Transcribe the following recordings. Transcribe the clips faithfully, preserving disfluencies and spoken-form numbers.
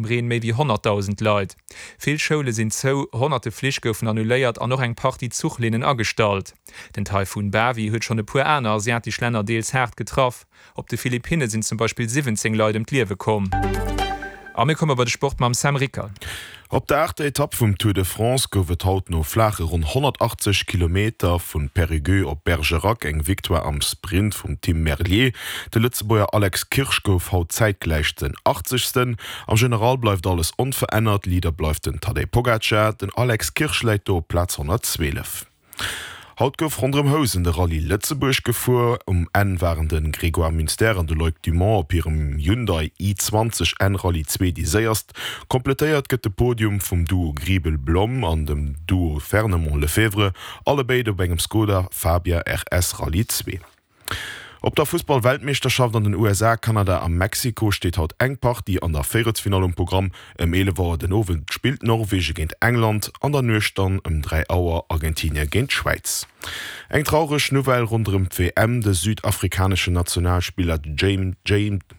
Reen méi wéi honnertdausend Leit. Vill Schoule sinn zou, honnerte Flich goufen annuléiert an och eng Partie Zuchlinnen agestallt. Den Taifun Bavi huet schonn e puer aner asiatesch Länner deels haart getraff. Op de Philippinne sinn zum Beispill siwwenzéng Leit ëm d'Liewe komm. A mir komme bei de Sport mam Sam Rickert. Op der aachter Etapp vum Tour de France gouf et haut no flaache ronn honnertachtzeg Kilometer vu Périgueux op Bergerac eng Victoire am Sprint vum Tim Merlier. De Lëtzebuerger Alex Kirsch gouf haut zäitgläich den Achtzegsten. Am General bleift alles onverännert, Leader bleift den Tadej Pogacar, den Alex Kirsch läit do op Plaz honnertzwielef. Haut gouf ronderëm Housen de Rallye Lëtzebuerg gefuer. Um Enn waren de Grégoire Munster an de Loïc Dumont op hirem Hyundai i zwanzeg N Rallye zwee déi séierst. Kompletéiert gëtt de Podium vum Duo Griebel-Blom an dem Duo Fernemont-Lefebvre, allebéid op engem Skoda Fabia R S Rallye zwee. Op der Fussball-Weltmeeschterschaft an den U S A, Kanada a Mexiko steet haut eng Partie an der Véierelsfinall um Programm. Ëm eelef Auer den Owend spillt Norwegen géint England, an der Nuecht dann ëm dräi Auer Argentinie géint d'Schwäiz. Eng traureg Nouvelle ronderëm d'W M, De südafrikaneschen Nationalspiller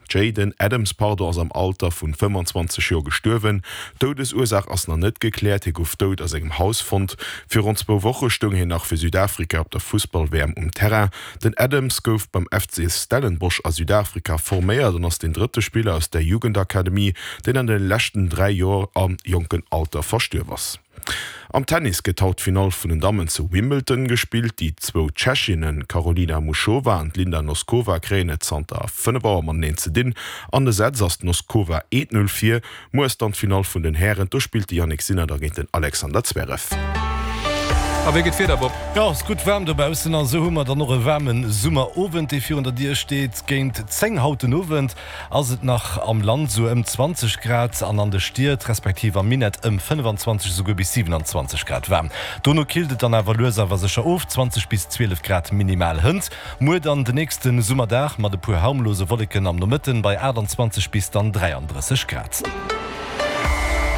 Jayden Adams pardon ass am Alter vun fëmmendzwanzeg Joer gestuerwen. D'Doudesursaach ass nach net gekläert. Hie gouf dout a sengem Haus fonnt. Virun zwou Woche stoung hien nach fir Südafrika op der Fussball-W M um Terrain. Den Adams gouf beim F C Stellenbosch a Südafrika forméiert an ass deen drëtte Spiller aus der Jugendakademie, deen an de leschten dräi Joer am jonken Alter verstuerf ass. Am Tennis gëtt haut d'Finall vun den Dammen zu Wimbledon gespillt. Déi zwou Tschechinnen Karolina Muchova an d'Linda Noskova kréien et zanter fënnef Auer mateneen ze dinn. An de Sätz ass d'Noskova eent Null vir. Muer ass dann d'Finall vun den Hären, do spillt de Jannik Sinner da géint den Alexander Zverev. A wéi gëtt d'Wieder, Bob? Jo, ass gutt waarm dobaussen a sou hu mer dann och e waarme Summerowend, dee virun der Dier steet. Géint zéng haut den Owend ass et nach am Land sou ëm zwanzeg Grad an an de Stied respektiv am Minett ëm fënnfanzwanzeg, esouguer bis siwenanzwanzeg Grad waarm. Dono killt et dann awer lues awer sécher of, zwanzeg bis zwielef Grad minimal hënt. Muer dann de nächste Summerdag mat e puer harmlose Wolleken am Nomëtten bei aachtanzwanzeg bis dann dräiandrësseg Grad.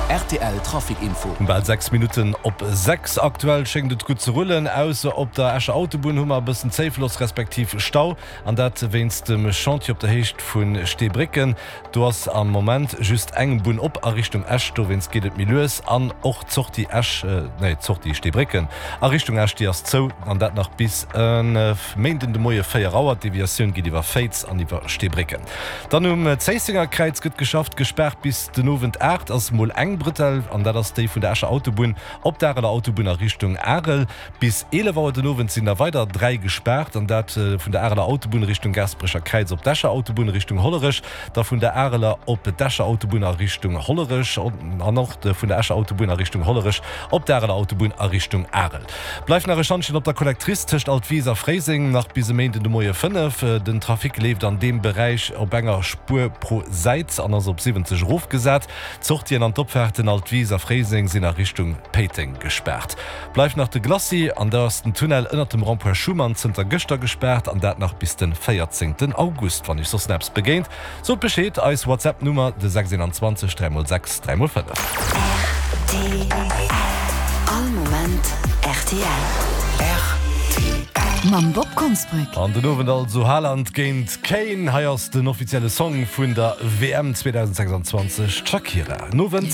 R T L Trafic Info. Bal sechs Minutten op sechs. Aktuell schéngt et gutt ze rullen, ausser op der Escher Autobunn hu mer e bëssen Zéifloss respektiv Stau, an dat wéinst dem Chantier op der Héicht vu Steebrécken. Do ass am Moment just eng Bunn op a Richtung Esch, dowéinst geet et méi lues. An och d'Sortie Esch, nee d'Sortie Steebrécken a Richtung Esch, déi ass zou, an dat nach bis e Méinden de Moie véier Auer. D'Deviatioun geet iwwer Féiz an iwwer Steebrécken. Dann um Zéissenger Kräiz gëtt geschafft, gespaart bis den Owend aacht ass mol eng Brëtell, an dat ass déi vun der Escher Autobunn op d'Areler Autobunn a Richtung Arel. Bis eelef Auer den Owend sinn der weider dräi gespaart, an dat vun der Areler Autobunn Richtung Gaasperecher Kräiz op d'Escher Autobunn Richtung Hollerech, da vun der Areler op d'Escher Autobunn a Richtung Hollerech an och vun der Escher Autobunn a Richtung Hollerech op d'Areler Autobunn a Richtung Arel. Bleift nach e Schantjen op der Collectrice tëscht Altwis a Fréiseng, nach bis e Méinden de Moie fënnef. Den Trafic leeft an deem Beräich op enger Spuer pro Säit an ass op siwwenzeg erofgesat. D'Sortien an d'Opfaarten Altwis a Fréiseng sinn a Richtung Péiteng gespaart. Bleift nach de Glacis an da ass den Tunnel ënnert dem Rond-point Schuman zënter gëschter gespaart an dat nach bis de véierzéngten August. Wann iech soss nach eppes begéint, sot Bescheed, eis WhatsApp Nummer de sechs eenanzwanzeg dräi mol sechs dräi mol fënnef. R T L All Moment R T L. R T L Mam Bob Konsbrück. An den Owend also Haaland géint Kane. Hei ass den offizielle Song vun der W M zweedausendsechsanzwanzeg, d'Shakira. Nowend.